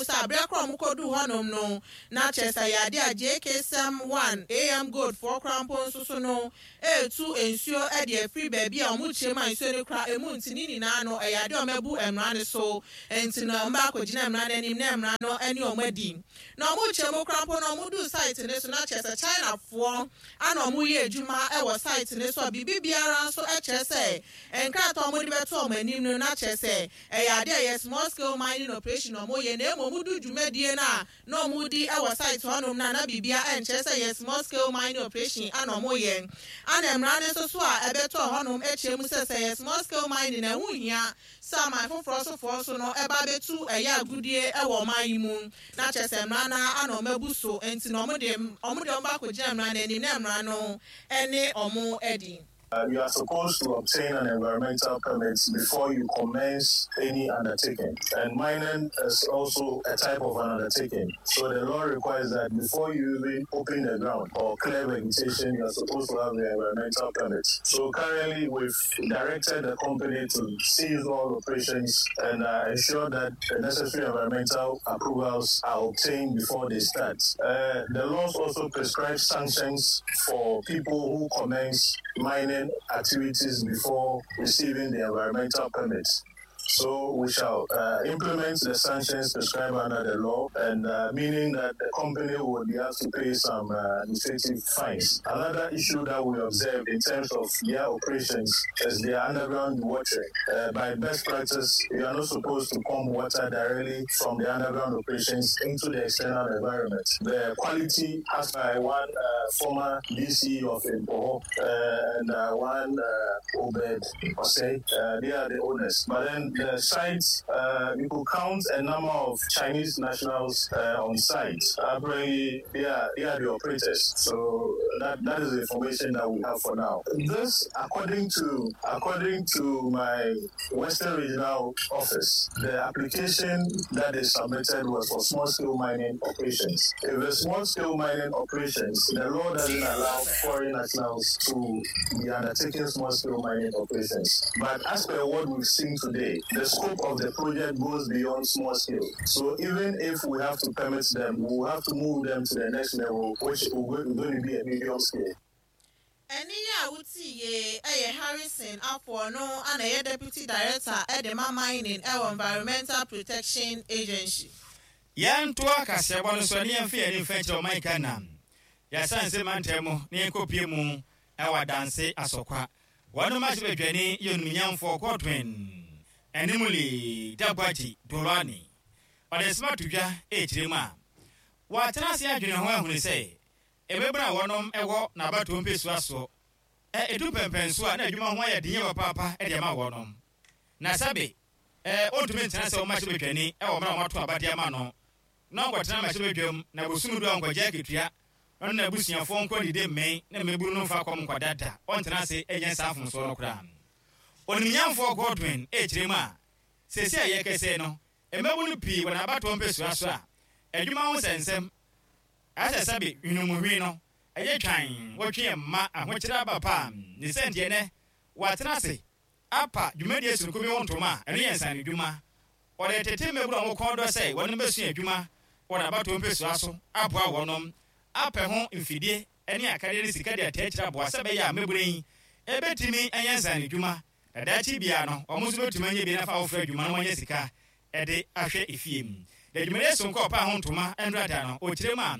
mu sɛ aberɛ korɔ ɔmo kɔduu hɔnom no, na kyerɛ sɛ ɛyɛ adeɛ a JK Sɛm 1 AM Gold foɔ koraa mpo nso so no retu nsuo de afiri baabi a ɔmo kyerɛ mu a nsuo no kura emu nti ne nyinaa no ɛyɛ adeɛ a ɔmo abu mmara no so nti no ɔmo bɛ akɔgyina mmara no anim na mmara no ne ɔmo adi. Na ɔmo kyerɛ mu koraa mpo no ɔmo duu site no so na kyerɛ sɛ China foɔ ana ɔmo yɛ adwuma wɔ site no so a biribi biara nso kyerɛ sɛ nkrataa a ɔmo de bɛto ɔmo anim no na kyerɛ sɛ ɛyɛ adeɛ a ɛyɛ small scale mining operation na ɔmo yɛ na mmom ɔmo du dwumadie no a na ɔmo di wɔ site hɔnom no a na biribiara nkyerɛ sɛ ɛyɛ small scale mining operation ana ɔmo yɛ. Ana mmara no nso so a ɛbɛtɔɔ hɔnom kyerɛ mu sɛ sɛ ɛyɛ small scale mining a ɛho nhia sɛ aman foforɔ so foɔ nso no ba bɛtu ɛyɛ agudie wɔ ɔman yi mu na kyerɛ sɛ mmara no ara na ɔmo abu so nti na ɔmo de ɔmo de ɔmo ba akɔgyina mmara no anim na mmara no ne ɔmo adi. You are supposed to obtain an environmental permit before you commence any undertaking. And mining is also a type of an undertaking. So the law requires that before you even open the ground or clear vegetation, you are supposed to have the environmental permit. So currently, we've directed the company to cease all operations and uh, ensure that the necessary environmental approvals are obtained before they start. Uh, the laws also prescribe sanctions for people who commence mining activities before receiving the environmental permits. So we shall uh, implement the sanctions prescribed under the law, and uh, meaning that the company will be asked to pay some uh, administrative fines. Another issue that we observed in terms of their operations is their underground watering. Uh, by best practice, you are not supposed to pump water directly from the underground operations into the external environment. The quality has by one uh, former DC of Impoho uh, and uh, one uh, Obed Osei. Uh, they are the owners. But then the site, uh, you could count a number of Chinese nationals uh, on site. Apparently, they are, they are the operators. So that, that is the information that we have for now. This, according to according to my Western Regional Office, the application that they submitted was for small scale mining operations. If the small scale mining operations, the law doesn't allow foreign nationals to be undertaking small scale mining operations. But as per what we've seen today, the scope of the project goes beyond small scale. So even if we have to permit them, we will have to move them to the next level, which is going to be a medium scale. Ɛnne yi a wotii yie yɛ Harrison Afo, ɔno na ɛyɛ Deputy Director de ma Mining wɔ Environmental Protection Agency. Yɛntoa kaseɛbɔ no so na yɛmfa yɛn ani mfa nkyerɛ ɔman Ghana yɛasanse mantam mu na yɛnkɔpue mu wɔ Adanse Asɔkwa. Wɔn mmarahyɛbadwani yɛ onimnyamfoɔ Godwin Animuli Dagbadji Dolwani. Ɔde nsɛm ato dwa rekyerɛ mu a, watena ase adwene ho ahunu sɛ mmabunu a wɔnom wɔ n'abatoɔ mpesua soɔ ɛ, ɛdu mpɛnpɛnsoɔ a na adwuma ho ayɛ den yie papaapa de ama wɔnom. Na sɛbe ɛ, ɔntumi ntena sɛ ɔmmarahyɛbadwani wɔ mmerɛ a wɔato aba de ama no na ɔnkɔtena mmarahyɛbadwam na bosome du a ɔnkɔgye akatua na ɔne n'abusuafoɔ nkɔ nnidi mmee na mmabunu no mfa kɔm nkɔda da, ɔntena ase nyɛ saa mfomsoɔ no koraa. Onimnyamfoɔ Godwin rekyerɛ mu a, seesei a yɛrekasa yi no, mmabunu pii wɔ n'abatoɔ mpesua so a adwuma ho nsɛnsɛm ayɛ sɛ sɛbe hwenemuhwene no yɛ twann, wɔtwe yɛn mma ahokyere aba pa a, ne sɛ nti ɛnnɛ wɔatena ase apa dwumadie sononko bi ho ntoma a ɛno yɛ nsaanodwuma. Ɔde tete mmabunu a wɔn kɔn dɔ sɛ wɔnom bɛsua adwuma wɔ n'abatoɔ mpesua so aboa wɔnom apɛ ho mfidie ne akadeɛ ne sika de ataa akyire aboa sɛ ɛbɛyɛ a mmabunu yi bɛtumi anya nsaanodwuma na daakye biara no wɔn nso bɛtumi anya bi na afa afoforɔ adwuma na wɔanya sika de ahwɛ efie. Na dwumadie sononko a ɔpaa ho ntoma nkrataa no ɔkyerɛ mu a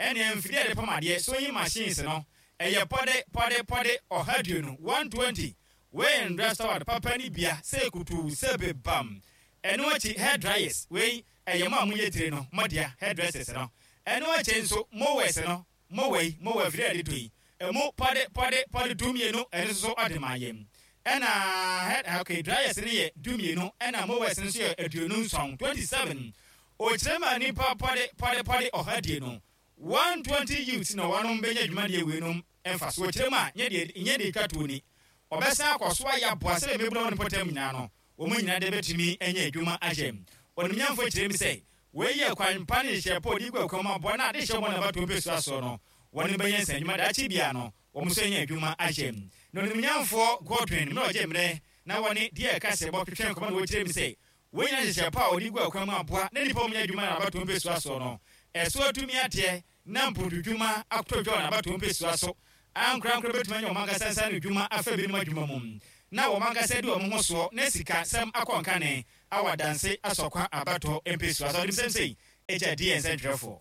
ɛneɛ mfidie a yɛde pam adeɛ, sewing machines, no ɛyɛ pɔde pɔde pɔde 120, 120, Wei ndrɛ sɔwad papa ne bia sɛ kutuu sɛ bebam. Ɛno akyi hair dryers wei ɛyɛ mo a mo yɛ tire no mo dea hair dressers no. Ɛno akyi nso mowers no mower yi mower afiri a yɛde tɔ yi ɛmu pɔde pɔde pɔde 12 ɛno nso so ɔde ma yɛn. Ɛna hair okay dryers no yɛ 12 ɛna mowers no nso yɛ 27, 27. Okyerɛ ma nipa pɔde pɔde pɔde ɔha die no 120 youths na wɔnom bɛnya dwumadie weinom mfasoɔ kyerɛ mu a nyɛ deɛ nyɛ deɛ ɛtwa toɔ ni. Wɔbɛsan akɔ so ayɛ aboa sɛdeɛ mmabunu a wɔwɔ ne mpɔtam nyinaa no wɔn nyinaa de bɛtumi anya adwuma ayɛ. Onimnyamfoɔ kyerɛ mu sɛ wei yɛ kwan pa ne nhyehyɛɛ pa a ɔde gu akwan mu aboa na adehyɛ wɔn a wɔabatoɔ mpɛsua soɔ no wɔnom bɛnya nsanadwuma daakye biara no wɔn nso anya adwuma ayɛ. Na Onimnyamfoɔ Godwin mmerɛ ɔgye mmerɛ na wɔne deɛ ɛka sɛ bɔ twetwe nkɔmmɔ na wɔkyerɛ mu sɛ. Wei nyinaa nhyehyɛe pa a wɔde gu akwan mu aboa na nnipa a wɔnyɛ adwuma na abatoɔ mpesua soɔ no ɛso atumi ateɛ na mpontodwuma atɔ dwa wɔ n'abatoɔ mpesua so. Ankorankoro bɛtumi anya wɔn ankasa nsa ano dwuma afa binom adwuma mu na wɔn ankasa adi wɔn ho soɔ na sika sɛm akɔ nkane awɔ adanse asɔkwa abatoɔ mpesua so. Ɔde nsɛm sei gya diiɛ nsɛntwerɛfoɔ.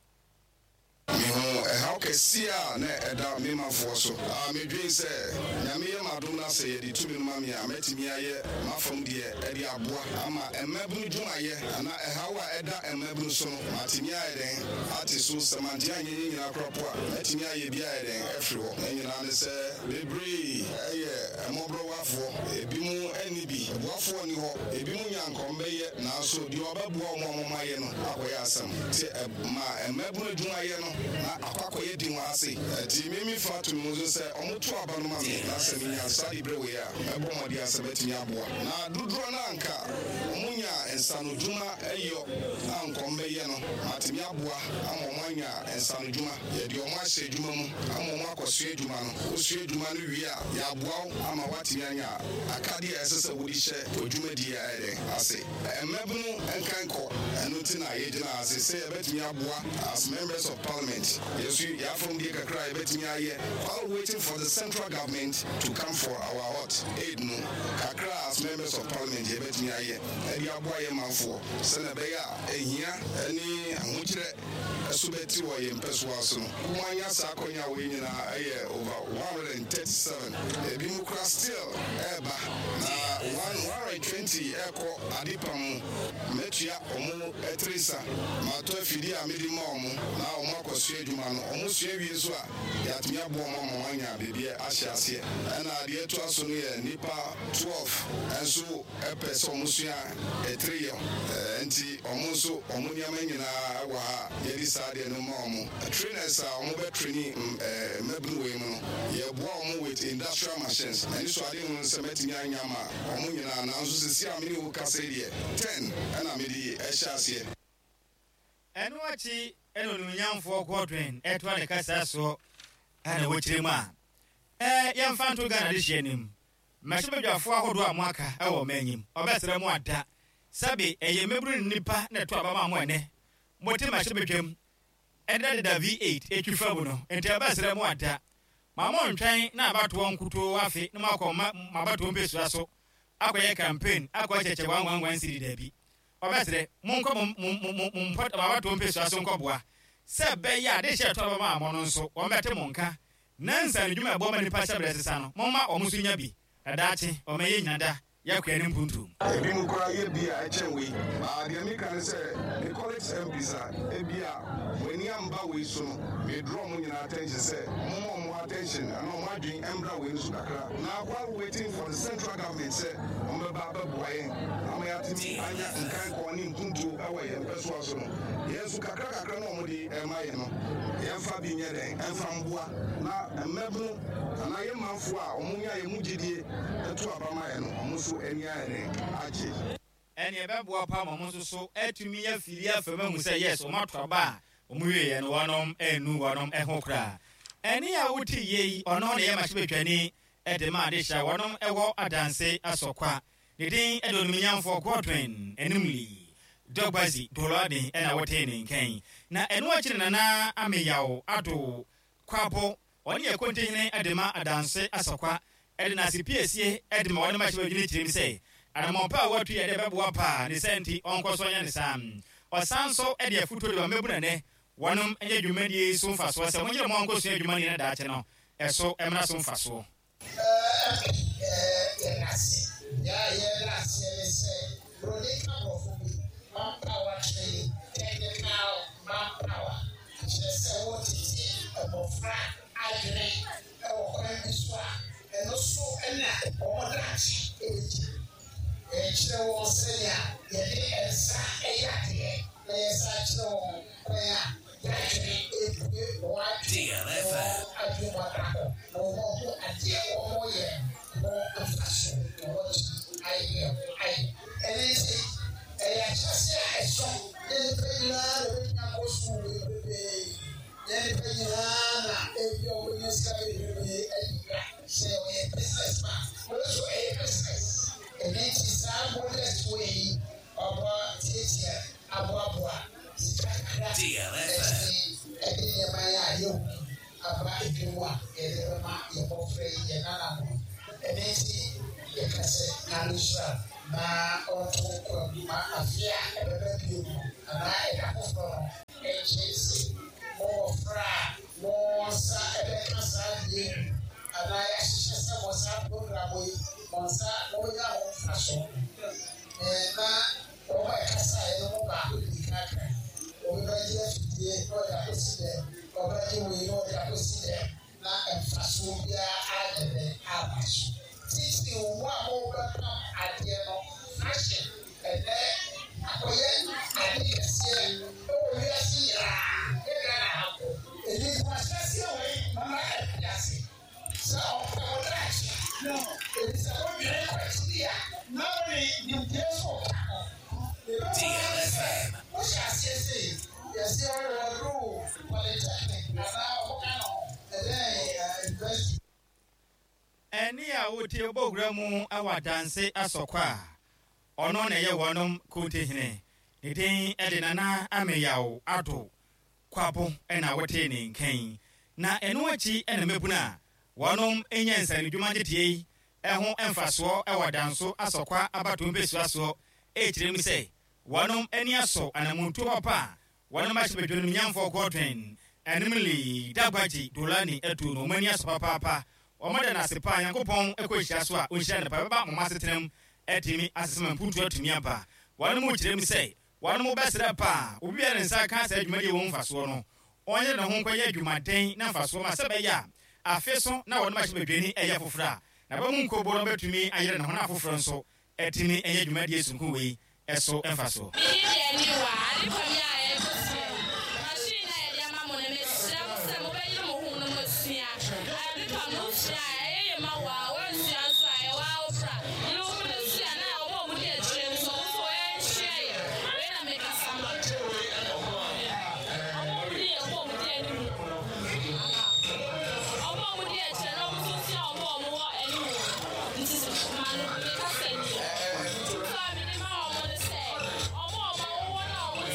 Mehuu ɛhaw kɛseɛ a na ɛda me manfoɔ so a medwen sɛ Nyame yɛ m'adom na sɛ yɛde tumi no ma me a mɛtumi ayɛ m'afam deɛ de aboa ama mmabunu dwumayɛ anaa ɛhaw a ɛda mmabunu so no matumi ayɛ dɛn ate so sɛ mantumi anyɛ ne nyinaa koraa po a mɛtumi ayɛ bi ayɛ dɛn afiri hɔ. Ne nyinaa ne sɛ bebree yɛ mmɔborɔwafoɔ, ebinom nni bi, boafoɔ nni hɔ, ebinom nya nkɔm bɛyɛ nanso deɛ ɔbɛboa wɔn a wɔayɛ no akɔyɛ asɛm nti Ma mmabunu adwumayɛ no na akɔ akɔyɛ din wɔ ha sei. Ɛnti me me fa to me ho so sɛ ɔmo to aba no ma me na sɛ me nya saa dibrɛ wei a mɛbɔ mmɔden a sɛ mɛtumi aboa. Na dodoɔ no a nka ɔmo nya nsanodwuma yɔ a nka ɔmo bɛyɛ no matumi aboa ama ɔmo anya nsanodwuma. Yɛde ɔmo ahyɛ adwuma mu ama ɔmo akɔsua adwuma no. Wosua adwuma no wie a yɛaboa wo ama woatumi anya akadeɛ a ɛsɛ sɛ wode hyɛ w'adwumadie ayɛ dɛn ase. Mmabunu nkan kɔ, ɛno nti na yɛgyina ha se sɛ yɛbɛtumi aboa as members of parliament, yɛn nso yɛn afɔmdie kakra a yɛbɛtumi ayɛ while waiting for the central government to come for our what aid no, kakra a as members of parliament yɛbɛtumi ayɛ de aboa yɛn manfoɔ sɛdeɛ ɛbɛyɛ a ahia ne ahokyerɛ so bɛte wɔ yɛn mpɛsoa so no. Wɔanya saa akwanya wei nyinaa ɛyɛ over 137, ebinom koraa still ɛreba na 120 ɛrekɔ adepa mu. Mɛtua wɔn tiri nsa, matɔ afidie a mede ma wɔn na wɔn akɔsua adwuma no. Wɔn sua wie nso a, yɛatumi aboa wɔn ama wɔanya baabi ahyɛ aseɛ. Ɛna deɛ ɛtoa so no yɛ nnipa 12 nso pɛ sɛ wɔn sua etire yɛ nti wɔn nso wɔn nneɛma nyinaa wɔ ha a yɛde saa adeɛ no ma wɔn. Trainers a wɔn bɛ traini mmabunu wei mu no yɛboa wɔn with industrial machines. M'ani so ade hunu sɛ mɛtumi anya ama wɔn nyinaa nanso sisi a me ne wo kasa yi deɛ ten ɛna mede ɛhyɛ aseɛ. Ɛno akyi na Onuonyamfoɔ Godwin toa ne kasa soɔ na wɔkyerɛ mu a, Yɛmfa nto Ghana adehyeɛ anim. Mmarahyɛbadwafoɔ ahodoɔ a moaka wɔ ɔman yi mu, ɔbɛsrɛ mo ada, sɛbe ɛyɛ mmabunu ne nnipa na ɛto aba maa mo ɛnnɛ, mote mmarahyɛbadwam ɛdedadeda V8 ɛtwi fa mu no, nti ɛbɛsrɛ mo ada, ma montwɛn na abatoɔ nkutoo afe na moakɔ ma mo abatoɔ mpesua so akɔyɛ campaign akɔ akyɛkyɛ one one one cedi, dabi, ɔbɛsrɛ monkɔ mo mo mo mo mo mpɔtam abatoɔ mpesua so nkɔboa sɛ ɛbɛyɛ a adehyeɛ ɛto aba maa mo no nso wɔbɛte mo nka Na nsaanodwuma a ɛboa ma nnipa hyɛberɛ sesa no, momma wɔn nso nya bi, na daakye wɔma yɛnnyina da yɛakoa ne mpuntuo mu. Ebinom koraa yɛ bi a ɛkyɛn wei. But deɛ meka ne sɛ, me colleagues MPs a ebia mo ani amba wei so no, me draw mo nyinaa attention sɛ momma wɔn attention anaa wɔn adwene mbra wei no so kakra. Na while waiting for the central government sɛ wɔbɛba abɛboa yɛn ama yɛatumi anya nkankɔɔ ne mpuntuo wɔ yɛn mpɛsoa so no, yɛn nso kakra kakra no a wɔde rema yɛn no, yɛmfa bi nyɛ dɛn? Mfa mboa na mmabunu anaa yɛn manfoɔ a wɔnya yɛn mu gyedie to aba ma yɛn no, wɔn nso ani ayɛ dɛn? Agye. Ɛnneɛ ɛbɛboa paa ma wɔn nso so atumi afiri afa mu ahu sɛ yes, wɔn ato aba a wɔn wieɛ no wɔnom annu wɔnom ho koraa. Ɛnne a wote yie yi, ɔno na ɛyɛ mmarahyɛbadwani de ma adehye a wɔnom wɔ Adanse Asɔkwa. Ne din de Onimnyamfoɔ Godwin Animli Dɔgbazi Doloaden na wotee ne nka yi. Na ɛno akyi na Nana Ameyaw Addo Kwabo, ɔne yɛ Kontihene de ma Adanse Asɔkwa de n'ase piesie de ma wɔne mmarahyɛbadwini kyerɛ mu sɛ anammɔn pa a watu yɛ dɛ bɛboa paa ne saa nti ɔnkɔ so nyɛ ne saa. Ɔsan nso de afotuo de ma mmabunu ɛnnɛ wɔnom nyɛ dwumadie yi so mfasoɔ sɛ monyere mo ho nkɔsua adwuma no yie na daakye no ɛso mmra so mfasoɔ. Yɛda ase. Nea yɛda aseɛ ne sɛ Buroni ka borɔfo bi, manpower training, technical manpower, kyerɛ sɛ wotete mmɔfra adwene wɔ kwan bi so a ɛno so na wɔn daakye bɛgyina. Yɛkyerɛ wɔn sɛnea yɛde nsa yɛ adeɛ na yɛsan kyerɛ wɔn kwan a yɛadwene rebue wɔn adwene na wɔn adwene mu ada hɔ na wɔahu adeɛ a wɔreyɛ no ho mfasoɔ na wɔatumi ayɛ deɛ ayɛ. Ɛno nti, ɛyɛ ahyɛaseɛ a ɛsɔ na nnipa nyinaa na wɔbɛtumi akɔ sukuu bebrebe. Nyɛ nnipa nyinaa na ebia wɔbɛnya sika bebrebe adi dwa. Sɛ ɔyɛ business man, wei nso ɛyɛ business. Ɛno nti saa modest way yi, ɔboa. kakra atumi de nneɛma yi a yɛahu yi aba dwam a yɛde bɛma yɛn mmɔfra yi, yɛn nananom yi. Ɛno nti yɛka sɛ Nyame nhyira no na ɔnto nkwa mu ma afe a ɛbɛba bio no anaa ɛda foforɔ no nkyɛ nse mo mmɔfra a mo nsa bɛka saa adeɛ yi anaa yɛahyehyɛ sɛ mo saa program yi mo nsa mobɛnya ho mfasoɔ no. Na wɔn a ɛkasaeɛ no mu baako dii kan kae, Obi bɛgye afidie na ɔde akɔsi dɛm, ɔbɛgye wei na ɔde akɔsi dɛm, na mfasoɔ biara anyɛ dɛn amma so. Titiriw mo a mobɛpam adeɛ no, fashion ɛnnɛ akɔyɛ ade kɛseɛ wɔ wiase nyinaa, nyɛ Ghana ha nko. Enti ahyɛaseɛ wei mma ɛmfi ase. Sɛ ɔpɛ wo daakye, efisɛ wodwene kɔ akyiri a, na wode nimdeɛ nso reka ho. Yɛbɛhu ara ne sɛ wohyɛ aseɛ sei, yɛse ɔduru polytechnic anaa ɔmoka no ɛdɛn university. Ɛnne a wotie bɔ wura mu wɔ adanse asɔkɔ a ɔno na ɛyɛ wɔnom kontihene. Ne din de Nana Ameyaw Addo Kwabo na wotee ne nka yi. Na ɛno akyi na mmabunu a wɔnom nya nsanodwuma nteteɛ yi ho mfasoɔ wɔ Danso Asɔkwa abatoɔ mpesua soɔ rekyerɛ mu sɛ wɔnom ani asɔ anamontuo papa a wɔnom ahyɛ badwanom nyamfoɔ Godwin Animley Dagbadji Dolani atuo no wɔn ani asɔ papaapa. Wɔda no ase paa. Nyankopɔn kɔ nhyira so a ɔnhyira no paa. Ɛbɛba moma asetena mu atumi asesa ma mpuntuo atumi aba. Wɔnom rekyerɛ mu sɛ Wɔnom bɛsrɛ paa obi biara ne nsa ka saa dwumadie wɔ ho mfasoɔ no, ɔnyere ne ho nkɔyɛ adwumaden na mfasoɔ ma sɛ ɛbɛyɛ a afe so na wɔnom ahyɛ badwani ɛyɛ foforɔ a naba mu nkobo no bɛtumi ayere ne ho na afoforɔ nso atumi anya dwumadie sononko wei so mfasoɔ. Me din de Aniwa, ade pa mi a ɛrekɔ so yi, machine a yɛde ama mo no, mesrɛ mo sɛ mobɛyere mo ho na moasua. Ade pa no, wosua a, ɛyɛ ye ma wo ara, woansua nso a, ɛyɛ wo ara wo bra. Yere wo ho na sua na wɔn a wɔdi akyire no nso, wɔn nso wɔnsua yɛ. Wei na mekasa ma.